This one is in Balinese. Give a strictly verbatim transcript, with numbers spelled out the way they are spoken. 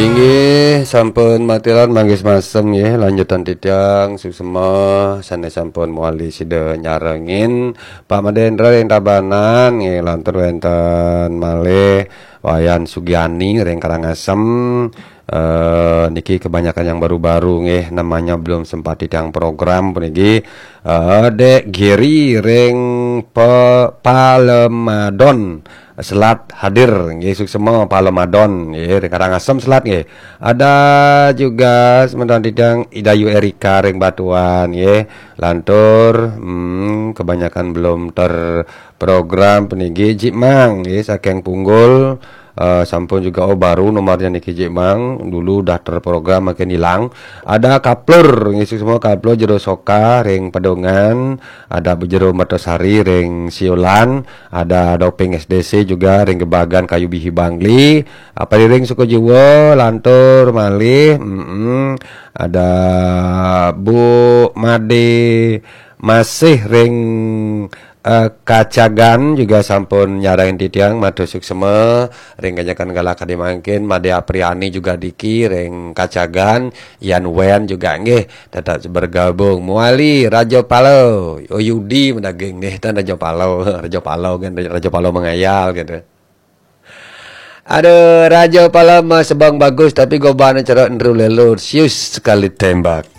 Inggih, sampun matiran manggis masem nggih, lanjutan titiang suksma sané sampun mewali sida nyarengin Pak Madendra ring Tabanan nggih, lantur wénten malih Wayan Sugiani ring Karangasem. Eh, niki kebanyakan yang baru-baru nggih, namanya belum sempat titiang program puniki. Eh, Dek Giri ring Pe-, Palemadon Selat hadir nggih, suksma Palemadon nggih, ring Karangasem Selat nggih. Ada juga semeton titiang Idayu Erika ring Batuan nggih. Lantur hmm, kebanyakan belum terprogram puniki Jik Mang nggih, saking Punggul. Eh, sampun juga, oh, baru nomornya niki Jik Mang, dulu udah terprogram makin hilang. Ada Kaplur nggih, suksma Kaplur Jero Soka ring Pedungan, ada Bu Jero Mertosari ring Siolan, ada Doping S D C juga ring Gebagan Kayu Bihi Bangli, apa ring Sukajiwa lantur malih, mm-mm, ada Bu Made masih ring eh, Kacagan juga sampun nyarengin titiang, matur suksma ring ganjakan galah kadi mangkin, Made Apriani juga diki ring Kacagan, Yan Wen juga nggih tetap bergabung. Muali Raja Palo, oh Yudi madaging nggih, tan Raja Palo, Raja Palo kan, Raja Palo mengayal gitu. Aduh, Raja Palo mah sebang bagus tapi gobané cerot enru lelur, sius sekali tembak.